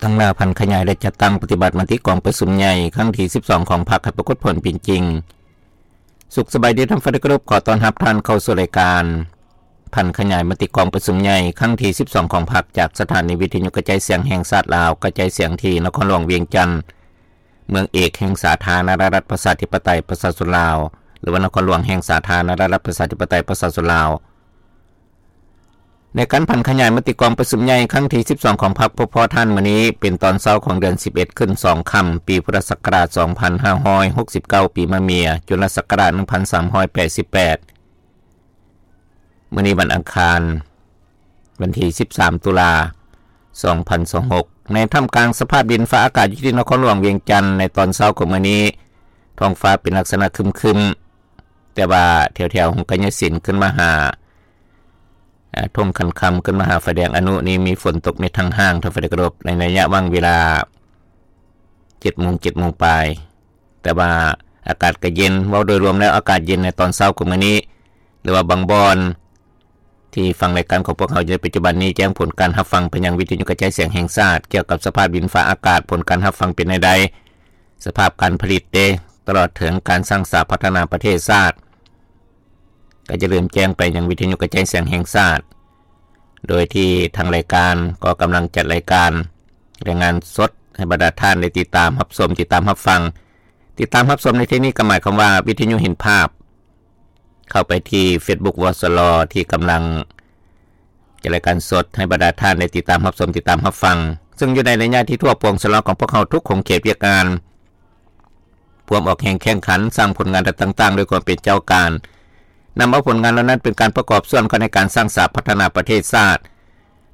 ທາງໜ້າຜັນຂະຫຍາຍ ແລະ ຈັດຕັ້ງປະຕິບັດມະຕິກອງປະຊຸມໃຫຍ່ຄັ້ງທີສິບສອງຂອງພັກໃຫ້ປາກົດຜົນເປັນຈິງ. ສຸກສະບາຍດີທ່ານທີ່ເຄົາລົບ, ຂໍຕ້ອນຮັບທ່ານເຂົ້າສູ່ລາຍການຜັນຂະຫຍາຍມະຕິກອງປະຊຸມໃຫຍ່ຄັ້ງທີສິບສອງຂອງພັກ ຈາກສະຖານີວິທະຍຸກະຈາຍສຽງແຫ່ງຊາດລາວ ກະຈາຍສຽງທີ່ນະຄອນຫຼວງວຽງຈັນ, ເມືອງເອກແຫ່ງສາທາລະນະລັດປະຊາທິປະໄຕປະຊາຊົນລາວ ຫຼືວ່ານະຄອນຫຼວງແຫ່ງສາທາລະນະລັດປະຊາທິປະໄຕປະຊາຊົນລາວ. ໃນການຜັນຂະຫຍາຍມະຕິກອງປະຊຸມໃຫຍ່ຄັ້ງທີສິບສອງຂອງພັກ ພົບພໍທ່ານມື້ນີ້ ເປັນຕອນເຊົ້າຂອງເດືອນສິບເອັດຂຶ້ນສອງຄ່ຳ ປີພຸດທະສັກກະລາດສອງພັນຫ້າຮ້ອຍຫົກສິບເກົ້າ ປີມະເມຍ ຈຸລະສັກກະລາດໜຶ່ງພັນສາມຮ້ອຍແປດສິບແປດ. ມື້ນີ້ວັນອັງຄານ ວັນທີສິບສາມ ຕຸລາ ສອງພັນຊາວຫົກ ໃນທ່າມກາງສະພາບດິນຟ້າອາກາດຢູ່ທີ່ນະຄອນຫຼວງວຽງຈັນ ໃນຕອນເຊົ້າຂອງມື້ນີ້ ທ້ອງຟ້າເປັນລັກສະນະຄຶມໆ ແຕ່ວ່າແຖວໆຫົງກະຍະສິນຂຶ້ນມາຫາ ອ່າ ທົ່ງຂັນຄຳ ຂຶ້ນມາຫາໄຟແດງອະນຸນີ້ ມີຝົນຕົກເມັດທັງຫ້າງ ທ່ານທີ່ເຄົາລົບ. ໃນໄລຍະຫວ່າງເວລາເຈັດໂມງ ເຈັດໂມງປາຍ ແຕ່ວ່າອາກາດກໍເຢັນ, ເວົ້າໂດຍລວມແລ້ວອາກາດເຢັນໃນຕອນເຊົ້າຂອງມື້ນີ້ ຫຼືວ່າບາງບ່ອນທີ່ຟັງລາຍການຂອງພວກເຮົາຢູ່ໃນປັດຈຸບັນນີ້ ແຈ້ງຜົນການຮັບຟັງໄປຍັງວິທະຍຸກະຈາຍສຽງແຫ່ງຊາດ ກ່ຽວກັບສະພາບດິນຟ້າອາກາດ, ຜົນການຮັບຟັງເປັນແນວໃດ, ສະພາບການຜະລິດເດ ຕະຫຼອດເຖິງການສ້າງສາພັດທະນາປະເທດຊາດ ກໍຈະເລີ່ມແຈ້ງໄປຍັງວິທະຍຸກະຈາຍສຽງແຫ່ງຊາດ ໂດຍທີ່ທາງລາຍການກໍກຳລັງຈັດລາຍການລາຍງານສົດໃຫ້ບັນດາທ່ານໄດ້ຕິດຕາມຮັບຊົມ, ຕິດຕາມຮັບຟັງ. ຕິດຕາມຮັບຊົມໃນທີ່ນີ້ກໍໝາຍຄວາມວ່າວິທະຍຸເຫັນພາບ ເຂົ້າໄປທີ່ເຟສບຸກ ວສລ ທີ່ກຳລັງຈັດລາຍການສົດໃຫ້ບັນດາທ່ານໄດ້ຕິດຕາມຮັບຊົມ, ຕິດຕາມຮັບຟັງ, ເຊິ່ງຢູ່ໃນໄລຍະທີ່ທົ່ວປວງສະຫຼອງຂອງພວກເຮົາທຸກຂົງເຂດວຽກງານ ພວມອອກແຮງແຂ່ງຂັນ, ສ້າງຜົນງານຕ່າງໆ ດ້ວຍຄວາມເປັນເຈົ້າການ, ນຳເອົາຜົນງານເຫຼົ່ານັ້ນເປັນການປະກອບສ່ວນເຂົ້າໃນການສ້າງສາພັດທະນາປະເທດຊາດ.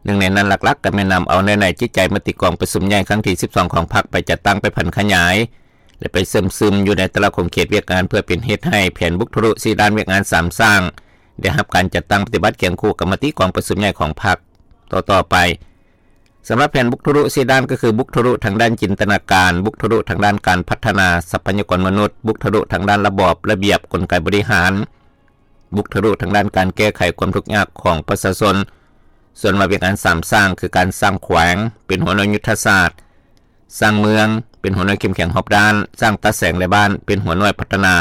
ໜຶ່ງໃນນັ້ນຫຼັກໆ ກໍແມ່ນນຳເອົາເນື້ອໃນຈິດໃຈມະຕິກອງປະຊຸມໃຫຍ່ຄັ້ງທີສິບສອງຂອງພັກ ໄປຈັດຕັ້ງ, ໄປຜັນຂະຫຍາຍ ແລະ ໄປເຊື່ອມຊຶມຢູ່ໃນແຕ່ລະຂົງເຂດວຽກງານ ເພື່ອເປັນເຫດໃຫ້ແຜນບຸກທະລຸສີ່ດ້ານວຽກງານສາມສ້າງ ໄດ້ຮັບການຈັດຕັ້ງປະຕິບັດຄຽງຄູ່ກັບມະຕິກອງປະຊຸມໃຫຍ່ຂອງພັກຕໍ່ໆໄປ. ສຳລັບແຜນບຸກທະລຸສີ່ດ້ານ ກໍຄືບຸກທະລຸທາງດ້ານຈິນຕະນາການ, ບຸກທະລຸທາງດ້ານການພັດທະນາຊັບພະຍາກອນມະນຸດ, ບຸກທະລຸທາງດ້ານລະບອບ, ລະບຽບ, ກົນໄກບໍລິຫານ, ບຸກທະລຸທາງດ້ານການແກ້ໄຂຄວາມທຸກຍາກຂອງປະຊາຊົນ. ສ່ວນວ່າວຽກງານສາມສ້າງ ຄືການສ້າງແຂວງເປັນຫົວໜ່ວຍຍຸດທະສາດ, ສ້າງເມືອງເປັນຫົວໜ່ວຍເຂັ້ມແຂງຮອບດ້ານ, ສ້າງຕາແສງ ແລະ ບ້ານເປັນຫົວໜ່ວຍພັດທະນາ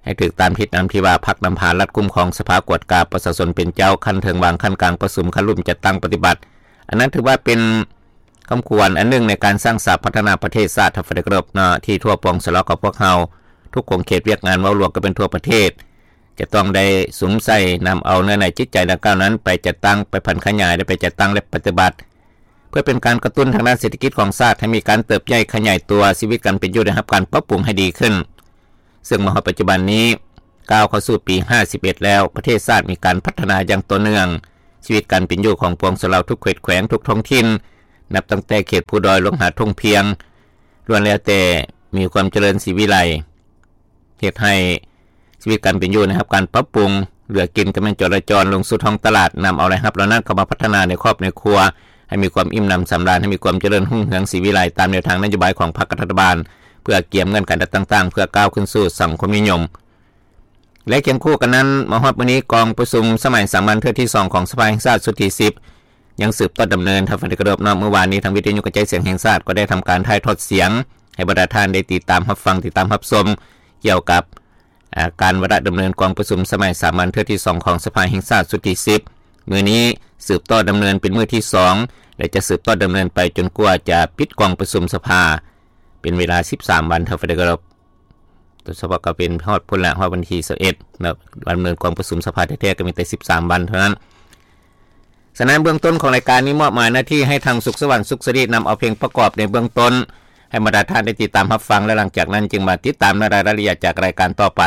ໃຫ້ຖືກຕາມທິດນຳທີ່ວ່າພັກນຳພາລັດຄຸ້ມຄອງ, ສະພາກວດກາປະຊາຊົນເປັນເຈົ້າ, ຂັ້ນເທິງວາງ, ຂັ້ນກາງປະຊຸມ, ຂັ້ນລຸ່ມຈັດຕັ້ງປະຕິບັດ. ອັນນັ້ນຖືວ່າເປັນຄຳຂວັນອັນໜຶ່ງໃນການສ້າງສາພັດທະນາປະເທດຊາດ ທ່ານທີ່ເຄົາລົບເນາະ, ທີ່ທົ່ວປວງສະຫຼອງຂອງພວກເຮົາທຸກຂົງເຂດວຽກງານ ເວົ້າລວມກໍເປັນທົ່ວປະເທດ ຈະຕ້ອງໄດ້ສຸມໃສ່ນຳເອົາເນື້ອໃນຈິດໃຈດັ່ງກ່າວນັ້ນໄປຈັດຕັ້ງ, ໄປຜັນຂະຫຍາຍ ແລະ ໄປຈັດຕັ້ງ ແລະ ປະຕິບັດ ເພື່ອເປັນການກະຕຸ້ນທາງດ້ານເສດຖະກິດຂອງຊາດໃຫ້ມີການເຕີບໃຫຍ່ຂະຫຍາຍຕົວ, ຊີວິດການເປັນຢູ່ໄດ້ຮັບການປັບປຸງໃຫ້ດີຂຶ້ນ. ເຊິ່ງມາຮອດປັດຈຸບັນນີ້ ກ້າວເຂົ້າສູ່ປີຫ້າສິບເອັດແລ້ວ, ປະເທດຊາດມີການພັດທະນາຢ່າງຕໍ່ເນື່ອງ, ຊີວິດການເປັນຢູ່ຂອງປວງຊາວລາວທຸກເຂດແຂວງ, ທຸກທ້ອງຖິ່ນ, ນັບຕັ້ງແຕ່ເຂດພູດອຍລົງຫາທົ່ງພຽງ, ລ້ວນແລ້ວແຕ່ມີຄວາມຈະເລີນສີວິໄລ, ເຮັດໃຫ້ຊີວິດການເປັນຢູ່ໄດ້ຮັບການປັບປຸງ, ເຫຼືອກິນກໍແມ່ນຈໍລະຈອນລົງສູ່ທ້ອງຕະຫຼາດ, ນຳເອົາລາຍຮັບເຫຼົ່ານັ້ນເຂົ້າມາພັດທະນາໃນຄອບໃນຄົວ ໃຫ້ມີຄວາມອີ່ມໜຳສຳລານ, ໃຫ້ມີຄວາມຈະເລີນຮຸ່ງເຮືອງສີວິໄລ ຕາມແນວທາງນະໂຍບາຍຂອງພັກລັດຖະບານ, ເພື່ອກຽມເງື່ອນໄຂຕ່າງໆ ເພື່ອກ້າວຂຶ້ນສູ່ສັງຄົມນິຍົມ. ແລະ ຄຽງຄູ່ກັນນັ້ນ, ມາຮອດມື້ນີ້ ກອງປະຊຸມສະໄໝສາມັນເທື່ອທີສອງຂອງສະພາແຫ່ງຊາດຊຸດທີສິບ ຍັງສືບຕໍ່ດຳເນີນ. ທ່ານທີ່ເຄົາລົບເນາະ, ມື້ວານນີ້ທາງວິທະຍຸກະຈາຍສຽງແຫ່ງຊາດກໍໄດ້ທຳການຖ່າຍທອດສຽງໃຫ້ບັນດາທ່ານໄດ້ຕິດຕາມຮັບຟັງ, ຕິດຕາມຮັບຊົມ ກ່ຽວກັບ ອາ ການວາລະດຳເນີນກອງປະຊຸມສະໄໝສາມັນເທື່ອທີສອງຂອງສະພາແຫ່ງຊາດຊຸດທີສິບ. ມື້ນີ້ສືບຕໍ່ດຳເນີນເປັນມື້ທີສອງ ແລະ ຈະສືບຕໍ່ດຳເນີນໄປຈົນກວ່າຈະປິດກອງປະຊຸມສະພາ ເປັນເວລາສິບສາມວັນ. ທ່ານທີ່ເຄົາລົບ, ໂດຍສະເພາະກໍເປັນຮອດພຸ້ນລະ, ຮອດວັນທີຊາວເອັດເນາະ, ດຳເນີນກອງປະຊຸມສະພາແທ້ໆກໍມີແຕ່ສິບສາມວັນເທົ່ານັ້ນ. ສະນັ້ນ ເບື້ອງຕົ້ນຂອງລາຍການນີ້ມອບໝາຍໜ້າທີ່ໃຫ້ທາງສຸກສະຫວັນ ສຸກສະລິ ນຳເອົາເພງປະກອບໃນເບື້ອງຕົ້ນ ໃຫ້ບັນດາທ່ານໄດ້ຕິດຕາມຮັບຟັງ ແລະ ຫຼັງຈາກນັ້ນຈຶ່ງມາຕິດຕາມໃນລາຍລະອຽດຈາກລາຍການຕໍ່ໄປ.